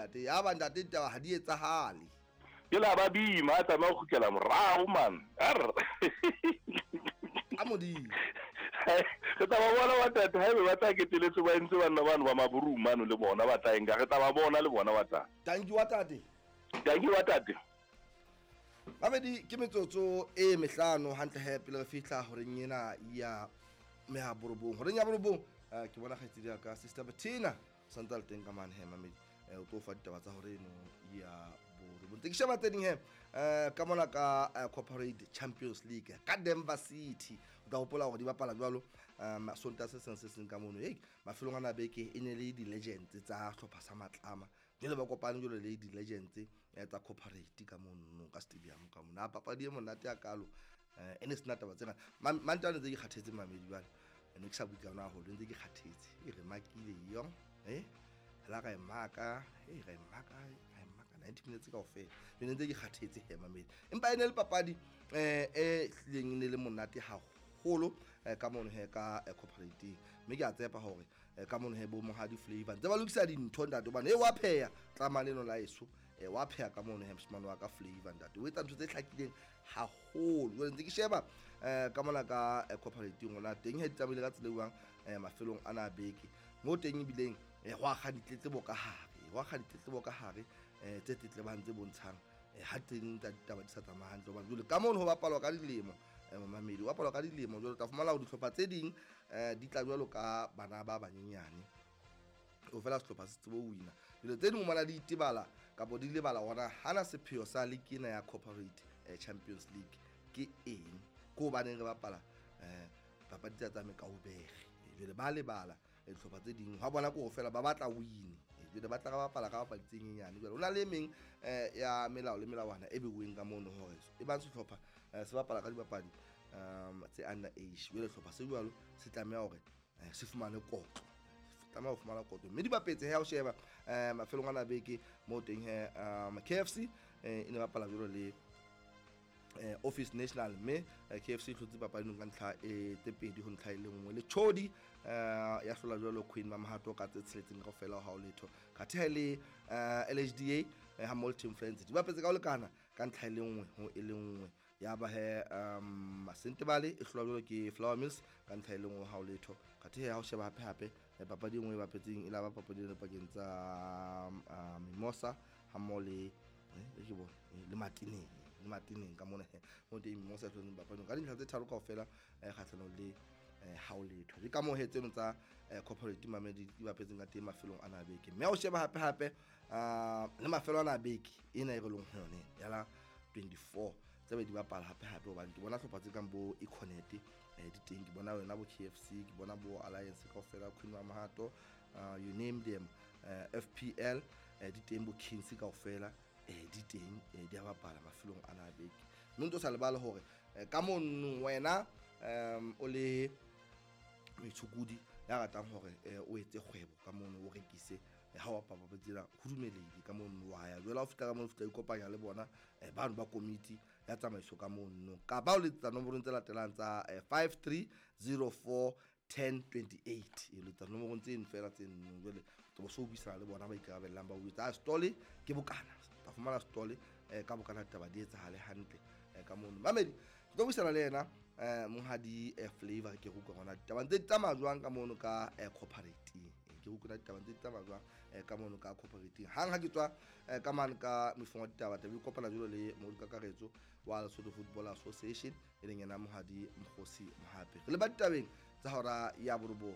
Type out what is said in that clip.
ntate. Ya ba ntate ditaba ha di etsahale. Ke la ba bima a tsamaya go kgutlela morago man. Arr. Ka modimo. Re tla ba bona ba tate haebe ba tla keteletse ba entse banna bano ba maburu mano le bona ba tla enka re tla ba bona le bona ba tla. Tanki wa tate. Tanki wa tate. Mamedi ke metsotso e mehlano hantle he pele re fihla horeng ena ya mehaborobong. Horeng ya borobong ke bona kgaitsedi ya ka Sister Bettina santse a le teng ka mane he mamedi o tlo fa ditaba tsa hore eno ya borobong. Ntse ke sheba tse ding he ka mona ka Corporate Champions League ka Denver City. O tla hopola hore di bapala jwalo Sontaha se seng se seng ka mono. Hey, mafelong ana beke e ne le di-legends tsa hlopha sa Matlama. Jwale ba kopane jwalo le di-legends tsa corporate ka mono ka stadium ka mono. A papadi e monate ya kalo e ne sena taba tsena. Mantane tse ke kgathetse mamedi jwale. Ne ke sa bue ka yona haholo, ntse ke kgathetse. E re makile yong, la ra e maka, ra e maka, ra e maka 90 minutes kaofela. Jwale ntse ke kgathetse he mamedi. Empa e ne le papadi e hlileng e ne le monate haholo ka mono he ka corporate. Mme ke a tshepa hore ka mono he bo Mohadi Flavor ntse ba lokisa dintho ntate hobane e wa pheha tlama leno la eso wa pheha ka mono he moshemane wa ka Flavor ntate o etsa ntho tse hlakileng haholo. Jwale ntse ke sheba ka mona ka corporate ngwana teng he di tsamaile ka tsela e jwang mafelong ana a beke mo teng ebileng go akga ditletlebo ka hare, go akga ditletlebo ka hare tse tletlebang tse bontshang ha teng tsa ditaba di sa tsamaya hantle hobane jwale ka mono ho bapalwa ka dilemo momamedi ho bapalwa ka dilemo jwale o tla fumana hore dihlopha tse ding di tla jwalo ka bana ba banyenyane o fela sehlopha se tsebe ho wina. Jwale tse ding o di itebala kapa di lebala hore hana sepheo sa league ena ya Corporate Champions League ke eng, ke hobaneng re bapala papadi tsa tsa mekaubere. Jwale ba lebala dihlopha tse ding ha bona ke ho fela ba batla win, jwale ba tla ra bapala ka papadi tse nyenyane. Jwale ho na le meng ya melao le melawana e beuweng ka mono hore e bang sehlopha se bapala ka dibapadi tse under age, jwale sehlopha se jwalo se tlameha hore se fumane kotlo, tlameha ho fumana kotlo. Mme di bapetse he ha o sheba mafelong ana beke mo teng he KFC e ne bapala jwalo le Office National, mme KFC e hlotse papadi ka ntlha e tse pedi ho ntlha e le nngwe. Le Chodi ya hlola jwalo Queen Mamahato ka tse tsheletseng kaofela ha o letho. Kathe ha le LHDA ha mmoho le Team Friends di bapetse ka ho lekana ka ntlha e le nngwe ho e le nngwe. Ya ba he Sentebale e hlola jwalo ke Flower Mills ka ntlha e le nngwe ha o letho. Kathe ha o sheba hape hape papadi e nngwe e bapetseng e la ba papadi e pakeng tsa Mimosa ha mmoho le ke bone le Matineng, le Matineng ka mona he mo teng Mimosa e hlotseng papading ka dintlha tse tharo kaofela kgahlanong le ha o letho. Ke ka moo he tseno tsa corporate mamedi di bapetseng ka teng mafelong ana a beke. Mme ha o sheba hape hape le mafelo ana a beke ena e re leng ho yone ya la 24 tse be di bapala hape hape hobane ke bona hlopha tse kang bo Econet di teng, ke bona yona bo KFC, ke bona bo Alliance kaofela, Queen Mamahato, you name them, FPL di teng, bo Kings kaofela di teng, di a bapala mafelong ana a beke. Mme ntse o sa lebale hore ka mono wena o le moitshokodi ya ratang hore o etse kgwebo ka mono, o rekise ha o bapala papadi tsena ho dumelehile ka mono wa ya. Jwale ha o fihla ka mono o fihla ikopanya le bona bano ba komiti ya tsamaiso ka mono, kapa o letsetsa nomorong tse latelang tsa 5304 1028. E letsetsa nomorong tseno fela tse nno, jwale o so buisana le bona ba ikarabellang ba o jwetsa stole ke bokana, tla fumana stole ka bokana ditaba di etsahale hantle ka mono. Mamedi ke tlo buisana le yena Monghadi Flavor ke utlwa hona ditaba ntse di tsamaya jwang ka mono ka corporate. Ke utlwa ditaba ntse di tsamaya jwang ka mono ka corporate. Hang ha ke tswa ka mane ka mefong wa ditaba taba kopana jwalo le Modu Kakaretso wa Lesotho Football Association e leng yena Monghadi Mokgosi Mohapi. Re le ba ditabeng tsa hora ya borobong.